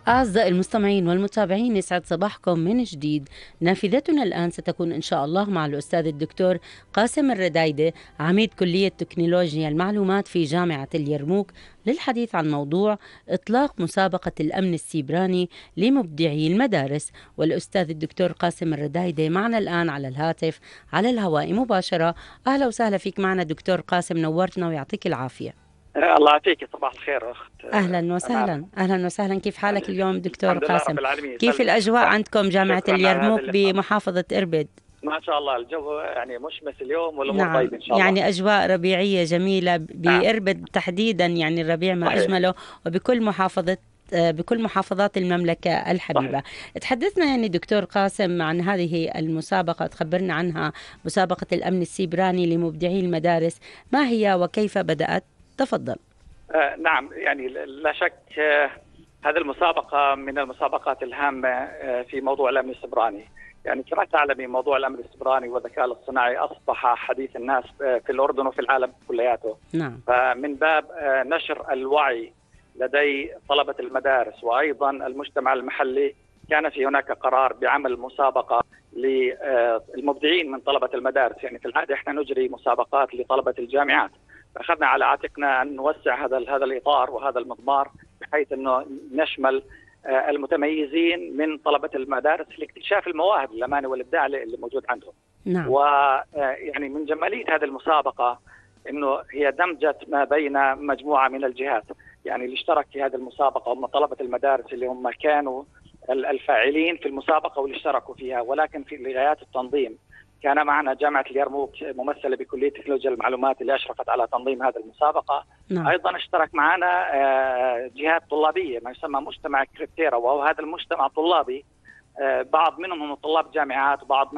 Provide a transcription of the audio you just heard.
أعزائي المستمعين والمتابعين، يسعد صباحكم من جديد. نافذتنا الآن ستكون إن شاء الله مع الأستاذ الدكتور قاسم الردايدة، عميد كلية تكنولوجيا المعلومات في جامعة اليرموك، للحديث عن موضوع إطلاق مسابقة الأمن السيبراني لمبدعي المدارس. والأستاذ الدكتور قاسم الردايدة معنا الآن على الهاتف على الهواء مباشرة. أهلا وسهلا فيك معنا دكتور قاسم، نورتنا ويعطيك العافية. الله يعطيك، صباح الخير أخت. أهلا وسهلا. أهلا وسهلا، كيف حالك اليوم دكتور قاسم؟ كيف سلم. الأجواء عندكم جامعة اليرموك بمحافظة إربد؟ ما شاء الله الجو يعني مشمس اليوم والأمور نعم، طيبة إن شاء الله. يعني أجواء ربيعية جميلة بإربد تحديدا، يعني الربيع ما صحيح. أجمله، وبكل بكل محافظات المملكة الحبيبة. تحدثنا يعني دكتور قاسم عن هذه المسابقة، تخبرنا عنها، مسابقة الأمن السيبراني لمبدعي المدارس، ما هي وكيف بدأت؟ تفضل. نعم، يعني لا شك هذه المسابقة من المسابقات الهامة في موضوع الأمن السيبراني. يعني كما تعلمي موضوع الأمن السيبراني والذكاء الاصطناعي أصبح حديث الناس في الأردن وفي العالم كلياته. نعم. فمن باب نشر الوعي لدي طلبة المدارس وأيضا المجتمع المحلي، كان في هناك قرار بعمل مسابقة للمبدعين من طلبة المدارس. يعني في العادة احنا نجري مسابقات لطلبة الجامعات، فأخذنا على عاتقنا أن نوسع هذا الإطار وهذا المضمار، بحيث أنه نشمل المتميزين من طلبة المدارس لاكتشاف المواهب الأمانة والإبداع اللي موجود عندهم. نعم. ويعني من جمالية هذه المسابقة أنه هي دمجت ما بين مجموعة من الجهات. يعني اللي اشترك في هذه المسابقة هم طلبة المدارس اللي هم كانوا الفاعلين في المسابقة واللي اشتركوا فيها، ولكن في لغايات التنظيم كان معنا جامعة اليرموك ممثلة بكلية تكنولوجيا المعلومات اللي أشرفت على تنظيم هذه المسابقة. نعم. أيضا اشترك معنا جهات طلابية، ما يسمى مجتمع كريبتيرا، وهو هذا المجتمع الطلابي بعض منهم هم طلاب جامعات وبعض